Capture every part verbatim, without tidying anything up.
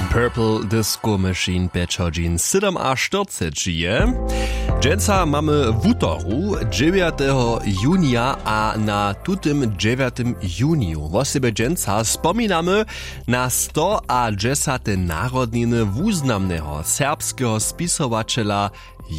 Purple Disco Machine pjeć hodźin sydomaštyrceći je. Dźensa mamy wutoru, dźewjateho junija, a na tutym dźewjatym juniju wosebje dźensa spominamy na stoadźesate narodniny wuznamneho serbskeho spisowaćela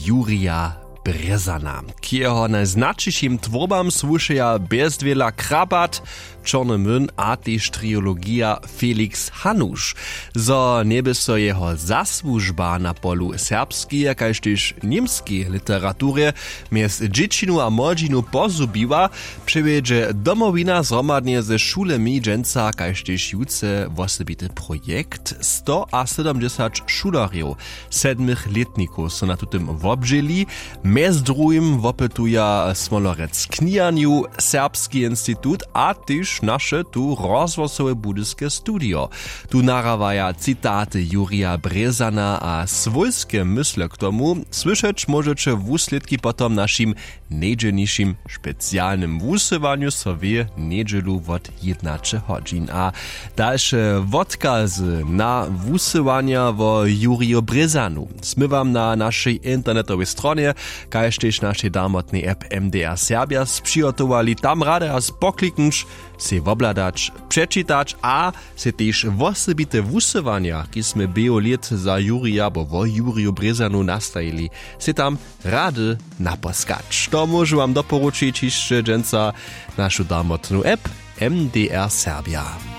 Jurija Brězana. K jeho najznaćišim twórbam słušeja Bjezdwěla Krabat, Čorny młyn a tež trilogija Felix Hanuš. Zo njeby so jeho zasłužba na polu serbskeje kaž tež němskeje literaturje mjez dźěćinu a młodźinu pozhubiła, přewjedźe Domowina zhromadnje ze šulemi dźensa kaž tež jutře wosebity projekt. Stoasydomdźesać šulerjow sedmych lětnikow so na tutym wobdźěli. Mjez druhim wopytuja smolorec kniharnju, serbski institut a tež naše tu rozhłosowe budyske studio. Tu nahrawaja citaty Jurija Brězana a swójske mysle k tomu. Słyšeć móžeće wuslědki potom w našim njedźelnišim specialnym wusyłanju so w njedźelu wot jědnaće hodźin. A dalše wotkazy na wusyłanja wo Juriju Brězanu smy wam na našej internetowej stronje kaž tež našej damotnej app M D R Serbja spřihotowali. Tam rady a spokliknć, sej wobhladać, přečitać a sej tež wosebite wusyłanja, kiž smy běhu lět za Jurija abo wo Juriju Brězanu nastajili, sej tam rady naposkać. To móžu wam doporučić hišće dźensa našu damotnu app M D R Serbja.